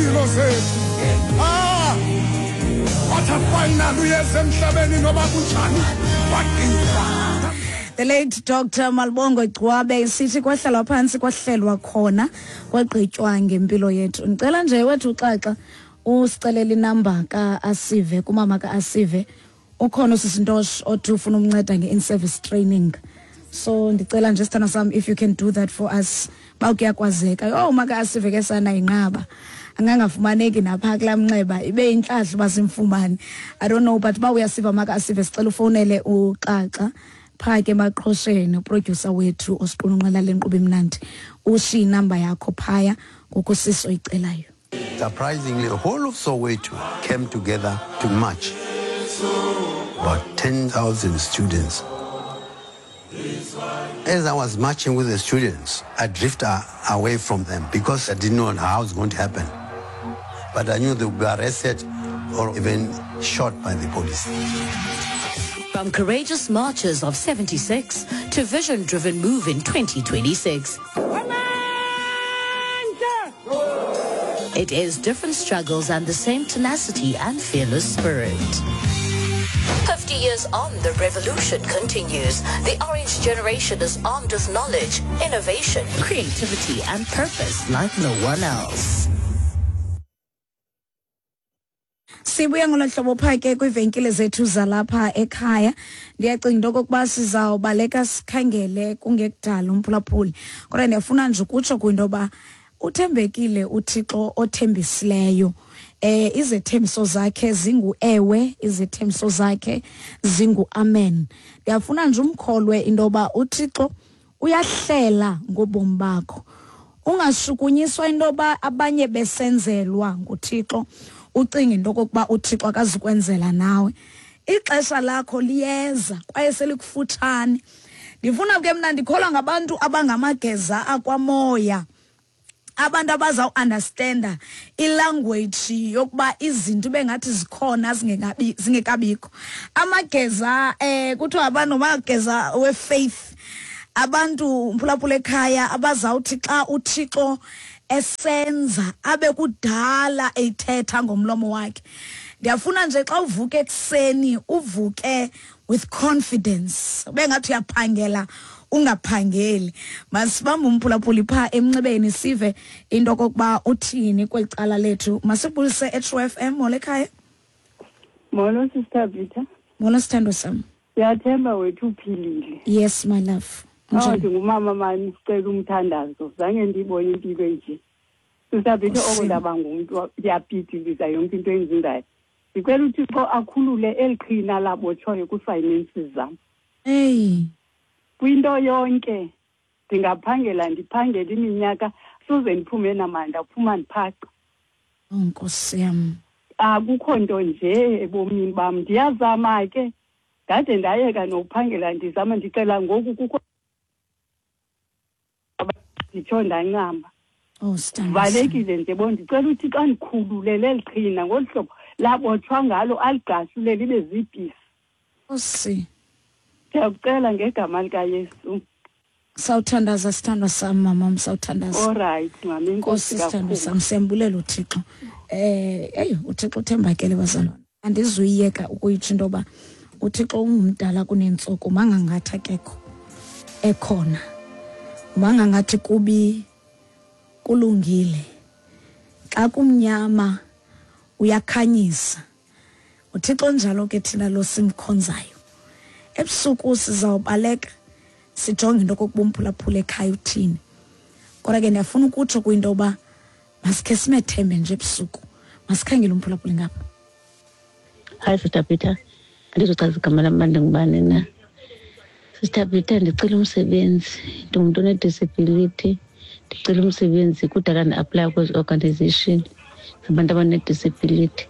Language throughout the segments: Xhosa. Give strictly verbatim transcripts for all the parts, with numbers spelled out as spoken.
ngempilo zethu. Ah, wathi final uyeza emhlabeni noba kunjani wagqiba. The late Doctor Malibongwe Gcwabe sithi kwahlalwa phansi kwahlelwa khona kwagqitywa ngempilo yethu. Ngicela nje wethu uxaxa usicelela inamba ka-Asive, kumama ka-Asive. Ukhona usisintosh othi ufuna umnceda nge-in-service training. So ndicela nje sithando sam if you can do that for us. Ba kuyakwazeka. Oh maka Asive ke sana inqaba. Angangafumaneki napha kulaa mnxeba ibe intlahla uba simfumane. I don't know but ba uyasiva maka Asive sicela ufonele uxaxa pha ke emaqhosheni uproducer wethu osiqulunqela le nkqubo imnandi. Ushiye inamba yakho phaya ngokusiso oyicelayo. Surprisingly, the whole of Soweto came together to march. About ten thousand students. As I was marching with the students, I drifted away from them because I didn't know how it was going to happen. But I knew they would be arrested or even shot by the police. From courageous marches of seventy-six to vision-driven move in twenty twenty-six. It is different struggles and the same tenacity and fearless spirit. fifty years on, the revolution continues. The Orange Generation is armed with knowledge, innovation, creativity, and purpose like no one else. Sibuya ngolo hlobo pha ke kwiivenkile zethu zalapha ekhaya. Ndiyacinga into okokuba sizawubaleka sikhangele kungekudala umphulaphuli. Kodwa ndiyafuna nje ukutsho kwinto yoba uthembekile uThixo othembisileyo. Eh izethembiso zakhe zingu ewe, izethembiso zakhe zingu amen. Ndiyafuna nje umkholwe into yoba uThixo uyahlela ngobomi bakho. Ungashukunyiswa into yoba abanye besenzelwa nguThixo, ucinga into okokuba uThixo akazukwenzela nawe. Ixesha lakho liyeza kwaye selikufutshane. Ndifuna ke mna ndikholwa ngabantu abangamageza akwamoya, abantu abazawu-understanda ilanguage yokuba izinto bengathi zikhona zingekabi, zingekabikho. Amageza eh kuthiwa abantu amageza we-faith, abantu mphulaphula ekhaya abazawuthi xa uThixo esenza abe kudala eyithetha ngomlomo wakhe. Ndiyafuna nje xa uvuke ekuseni uvuke with confidence, bengathi uyaphangela ungaphangeli. Masibambe umphulaphuli pha emnxebeni sive into okokuba uthini kweli cala lethu. Masibulise e-True F M. Molo ekhaya. Molo Sister Peter. Molo sithando sam. Siyathemba wethu uphilile. Yes my love. Oh, ndingumama mani, sicela umthandazo. Zange ndiyibone impilo enje. Sister Peter, oko ndaba ngumntu ndiyapitiliza yonke into endizenzayo. Ndicela uThixo akhulule eli qhina labotshoyo kwi-finances zam. Hey. Kwinto yonke ndingaphangela ndiphangele iminyaka soze ndiphume namandla, phuma ndiphaca. Oh Nkosi yam. Akukho nto nje ebomini bam. Ndiyazama ke, ndade ndayeka nokuphangela ndizama ndicela ngoku kukho nditsho ndancama. Oh sithando. Valekile nje bo, ndicela uThixo andikhulule leli qhina ngolu hlobo labotshwa ngalo, aligqashule libe ziipisi. Nkosi. Ndiyakucela ngegama likaYesu. Sawuthandaza sithandwa sam mama, sawuthandaza. All right mama, inkosi sithandwa sam, siyambulela uThixo. Eh eyo uThixo uthembakele bazalwane. Andizuyiyeka ukuyitsho into yoba uThixo ungumdala kunentsuku, mangangathi akekho ekhona. Mangangathi kubi kulungile. Xa kumnyama uyakhanyisa. uThixo njalo ke thina lo simkhonzayo. Ebusuku sizawubaleka sijonge into okokuba umphulaphula ekhaya uthini. Kodwa ke ndiyafuna ukutsho kwinto yoba masikhe simethembe nje ebusuku. Masikhangele umphulaphuli ngapha. Hi Sister Peter, andizochaza igama lam uba ndingubani na. Sister Peter, ndicela umsebenzi. Ndingumntu one-disability. Ndicela umsebenzi kudala ndi-aplaya kwezi organization zabantu abane-disability.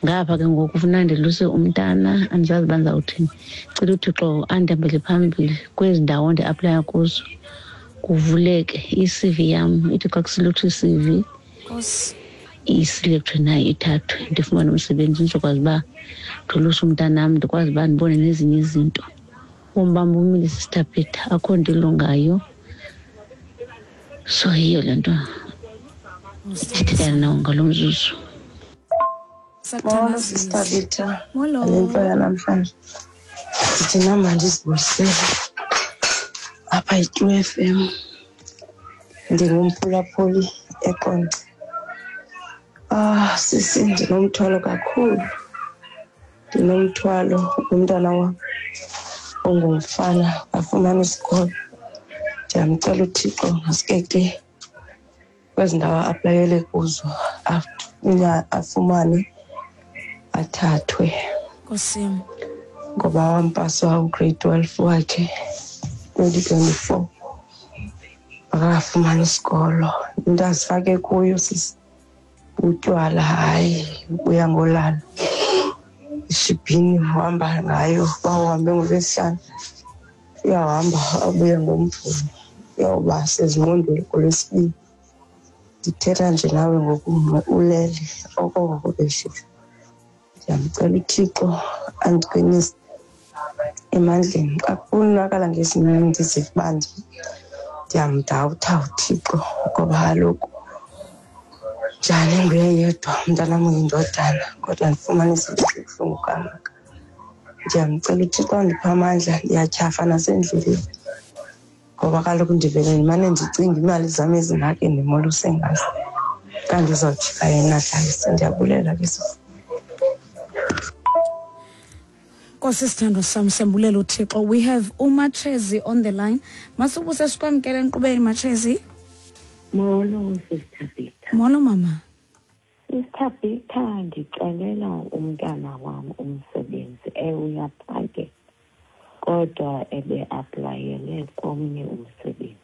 Ngapha ke ngoku funeka ndiluse umntana, andizazi uba ndizawuthini. Cela uThixo andihambele phambili kwezi ndawo ndi-aplaya kuzo, kuvuleke i-C V yam. Ithi xa kusiluthwa i-C V, isilektwe nayo ithathwe, ndifumane umsebenzi ndizokwazi uba ndoluse umntanam, ndikwazi uba ndibone nezinye izinto. Ubomi bam bumile Sister Peter, akho nto ilungayo. So yiyo le nto Ndithetha nawo ngalo mzuzu. Molo Sister Peter. Molo. Le nto yanamhlanje ndithi nam mandizibulisele apha yi-True F M. Ndingumphulaphuli eQonce. Ah, sisi, ndinomthwalo kakhulu. Ndinomthwalo womntana wam ongumfana afumane isikolo. Ndiyamcela uThixo ngaske ke kwezi ndawo a-aplayele kuzo afumane athathwe. Nkosi. Ngoba wampasa ugrade twelve wakhe twenty twenty-four. Akafumani isikolo. Into azifake kuyo sisi utywala, hayi ubuya ngolala. Ishibhini uhamba ngayo, bawuhambe ngoLwesihlanu. Uyahamba abuye ngoMvulo. Uyawuba sezingqondweni ngoLwesibini. Ndithetha nje nawe ngoku ulele okoko beshushu. Ndiyamcela uThixo andiqinise emandleni. Xa kubonakala ngesinye ndiziva uba ndiyamdawutha uThixo ngoba kaloku njani nguye yedwa umntanam uyindodana, kodwa ndifumana izinto ezibuhlungu kangaka. Ndiyamcela uThixo andiphe amandla. Ndiyatyhafa nasendleleni ngoba kaloku ndivele ndimane ndicinga imali zam ezingaka endimoluse ngazo, kanti uzawujika yena dlalise. Ndiyabulela ke sisi. Nkosi sithandwa sam, siyambulela uThixo. We have uMachezi on the line. Masubuse sikwamkele enkqubeni, Machezi. Molo Sister Peter. Molo mama. Sister Peter, ndicelela umntana wam umsebenzi. Uyaphangela kodwa ebe-aplayele komnye umsebenzi.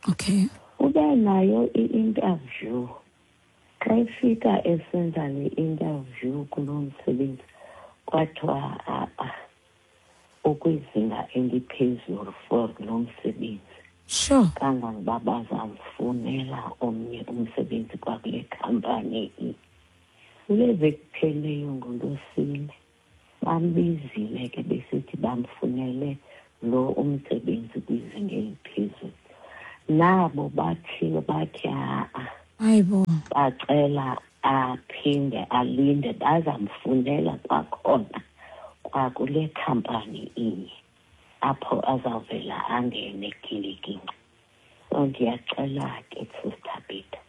Okay. Ube nayo i-interview. Xa efika esenza le interview kulo msebenzi kwathiwa a-a ukwizinga eliphezulu for lo msebenzi. Sure. Kangangoba bazamfunela omnye umsebenzi kwakule khampani. Kule veki kupheleyo ngoLwesine bambizile ke besithi bamfunele lo umsebenzi kwizinga eliphezulu. Nabo bathile bathi a-a. Hayibo. Bacela aphinde alinde bazamfunela kwakhona kwakule khampani inye apho azawuvela angene kilikinci. So ndiyacela ke Sister Peter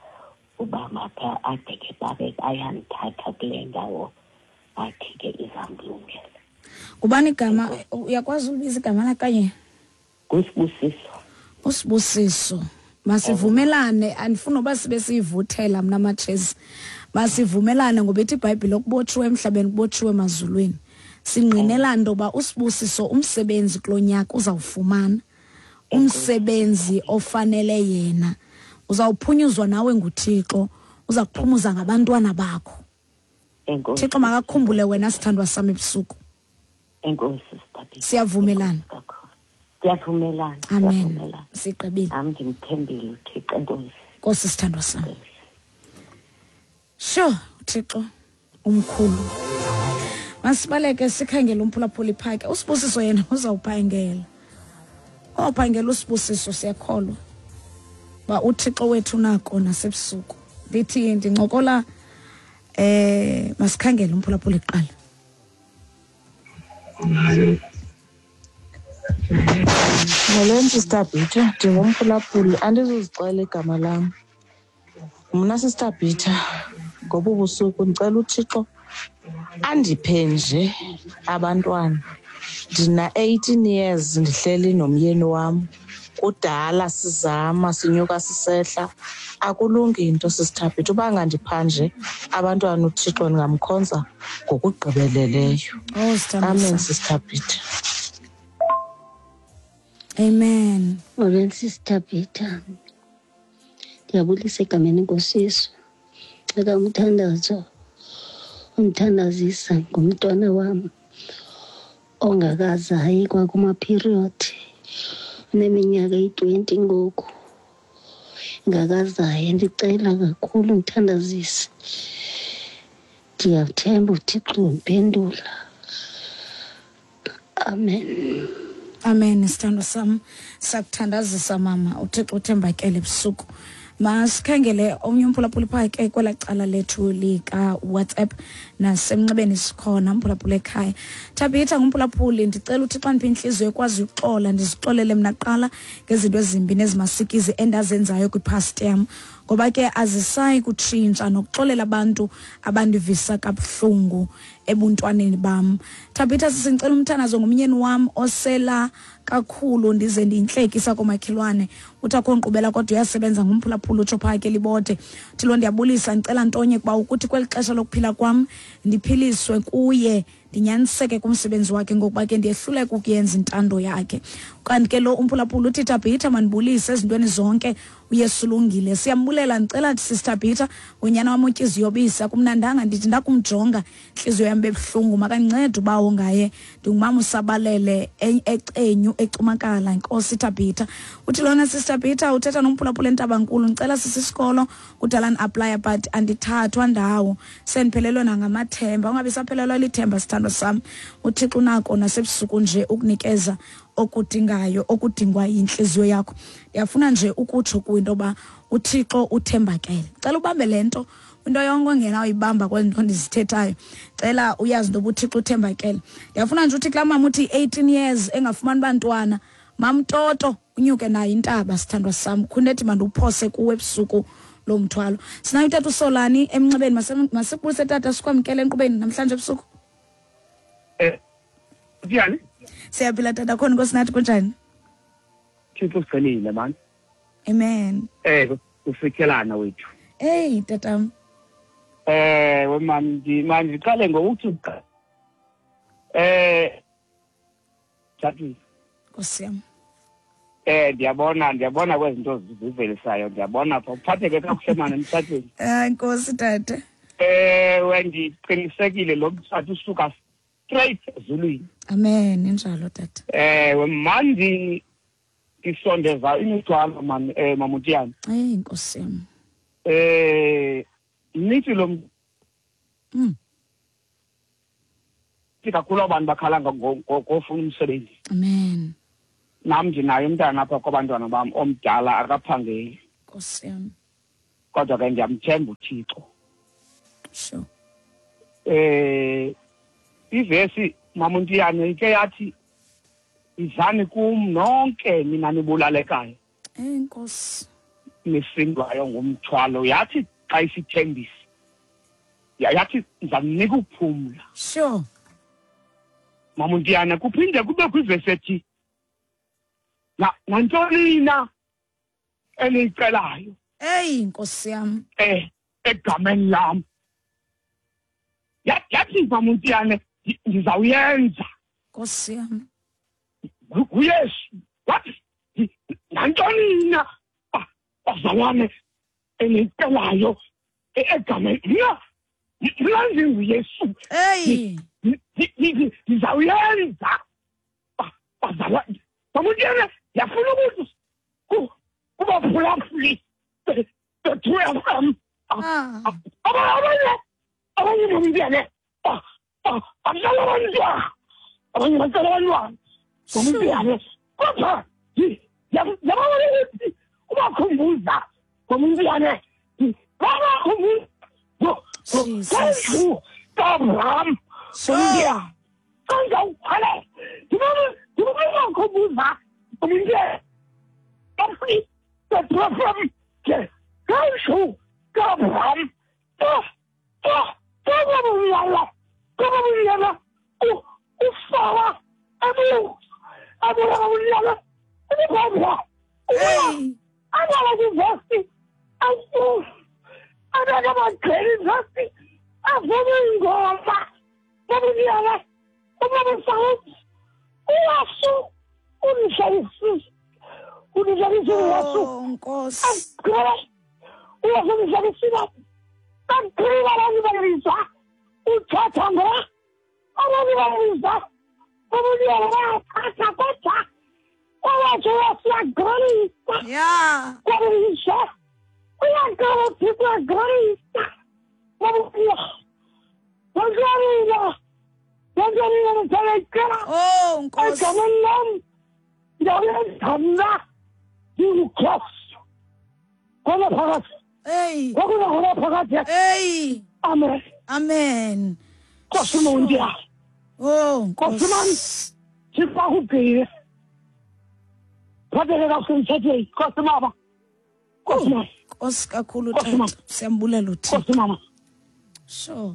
uba mapha ade ke babe bayamthatha kule ndawo athi ke izamlungela. Ngubani igama? Uyakwazi ulibiza igama lakanye? NguSibusiso. USibusiso. Masivumelane, andifuni uba sibe siyivuthela mna Machezi. Masivumelane ngoba ithi iBhayibhile okubotshiwe emhlabeni kubotshiwe emazulwini. Singqinelana into yoba uSibusiso umsebenzi kulo nyaka uzawufumana umsebenzi ofanele yena. Uzawuphunyuzwa nawe nguThixo, uza kuphumuza ngabantwana bakho. Thixo makakhumbule wena sithandwa sam ebusuku. Enkosi Sister. Siyavumelana. Siyavumelana. Amen. Sigqibile. Am ndimthembile uThixo. Enkosi. Nkosi sithandwa sam. Sure, uThixo umkhulu. Masibaleke sikhangele umphulaphuli phake. USibusiso yena uzawuphangela. Ophangela uSibusiso, siyakholwa ba uThixo wethu nako nasebusuku. Ndithi ndincokola eh masikhangele umphulaphuli kuqala. Molweni Sister Peter, ndingumphulaphuli, andizuzixela igama lam. Mna Sister Peter, ngobu busuku ndicela uThixo andiphe nje abantwana. Ndina eighteen years ndihleli nomyeni wam. Kudala sizama sinyuka sisehla, akulungi into Sister Peter. Uba ngandipha nje abantwana uThixo ndingamkhonza ngokugqibeleleyo. Oh, Sister. Amen Sister Peter. Amen. Molweni Sister Peter. Ndiyabulisa egameni Nkosi Yesu. Cela umthandazo undithandazisa ngumntwana wam ongakazayi kwakuma-period, uneminyaka eyi-twenty ngoku, ngakazayi. Ndicela kakhulu ndithandazise. Ndiyathemba uThixo umphendula. Amen. Amen. Sithandwa sam, sakuthandazisa mama. uThixo uthembakele ebusuku. Masikhangele omnye umphulaphuli phaa ke kwelaa cala lethu lika-WhatsApp nasemnxebeni sikhona mphulaphuli ekhaya. Thabitha ngumphulaphuli, ndicela uthi xa ndiphe intliziyo ekwazi uxola, ndizixolele mna kuqala ngezinto ezimbi nezimasikizi endazenzayo kwipast yam, ngoba ke azisayi kutshintsha nokuxolela abantu abandivisa kabuhlungu ebuntwaneni bam. Thabitha sisi, ndicela umthandazo ngumyeni wam osela kakhulu, ndize ndiyintlekisa komakhelwane, uthi akho nkqubela kodwa uyasebenza, ngumphulaphula utsho phaa ke Libode. Thilo ndiyabulisa, ndicela ntonye kuba ukuthi kweli xesha lokuphila kwam ndiphiliswe kuye, ndinyaniseke kumsebenzi wakhe, ngokuba ke ndiyehluleka ukuyenza intando yakhe. Kanti ke lo umphulaphula uthi Thabitha mandibulise ezintweni zonke, uYesu ulungile. Siyambulela. Ndicela Sister Thabitha ngonyana wam utyiziyobisa, kumnandanga ndithi ndakumjonga intliziyo yam bebuhlungu, makandincede ubawo ngaye, ndingumama usabalele ecenyu ecumakala. Nkosi Thabitha. Uthi lona Sister Thabitha uthetha nomphulaphula eNtabankulu, ndicela sisisikolo kudala ndi-aplaya but andithathwa ndawo, sendiphelelwe nangamathemba. Ungabi saphelelwa lithemba sithandwa sam, uThixo unako nasebusuku nje ukunikeza okudingayo, okudingwa yintliziyo yakho. Ndiyafuna nje ukutsho kwinto yoba uThixo uthembakele. Cela ubambe le nto, into yonke ongena uyibamba kwezi nto ndizithethayo, cela uyazi into yoba uThixo uthembakele. Ndiyafuna nje uthi kulaa mama uthi eighteen years engafumani bantwana, mamtoto unyuke nayo intaba sithandwa sam, khunethi mandiwuphose kuwe ebusuku lo mthwalo. Sinayo utata uSolani emnxebeni, masibulise tata, sikwamkele enkqubeni namhlanje ebusuku. Eh, njani? Siyaphila tata, khona Nkosi nathi, kunjani? Thixo usigcinile man. Amen. Eh, ufikelana wethu. Hey tata. Eh, we man, man ndiqale ngokuthi eh tata Nkosi yam. Eh ndiyabona ndiyabona kwezinto zivelisayo, ndiyabona pha uphatheke kakuhle mani emtshatweni. Eh Nkosi tata. Eh wendiqinisekile lo mtshato usuka straight ezulwini. Amen, injalo tata. Eh mandi isondeza imithwalo man eh Mamutiyana. Eh Nkosi yam. Eh nithi lo mm kakhulu abantu bakhala ngofuna umsebenzi. Amen. Nam ndinaye umntana apha kwabantwana bam omdala akaphangeli. Nkosi yam. Kodwa ke ndiyamthemba uThixo. Sure. Eh ivesi Mamuntiyane ike yathi izani kum nonke nina nibulalekayo. Enkosi. Nisindwayo ngumthwalo, yathi xa isithembisa yathi ndizamnika ukuphumla. Sure. Mamuntiyane kuphinde kube kwivesi ethi na nantoni na eniyicelayo. Hey Nkosi yam. Eh egameni lam. Yathi Mamuntiyane ndizawuyenza. Nkosi yam. UYesu wathi nantoni na bazalwane eniyicelayo egameni mna mna ndinguYesu. Hey ndizawuyenza bazalwane. Mamuntiyane ndiyafuna ukuthi kubaphulaphuli bethu F M abanye abanye Mamuntiyane abadlala abantwana, abanye bacela abantwana Mamuntiyane, kodwa yabona ukuthi ubakhumbuza Mamuntiyane, babakhumbuza ngendlu kaAbraham Mamuntiyane, kanjawuqale ndibakhumbuza Mamuntiyane ngendlu kaAbraham Oh, Nkosi. Yeah. Oh, Nkosi. Kona phakathi. Hey. Kwakuna kona phakathi. Hey. Amen. Amen. Nkosi mondia. Oh, Nkosi man. Thixo akugcine. Phatheke kakuhle emtshatweni. Nkosi mama. Nkosi mama. Nkosi kakhulu tata. Siyambulela uThixo. Nkosi mama. Sure.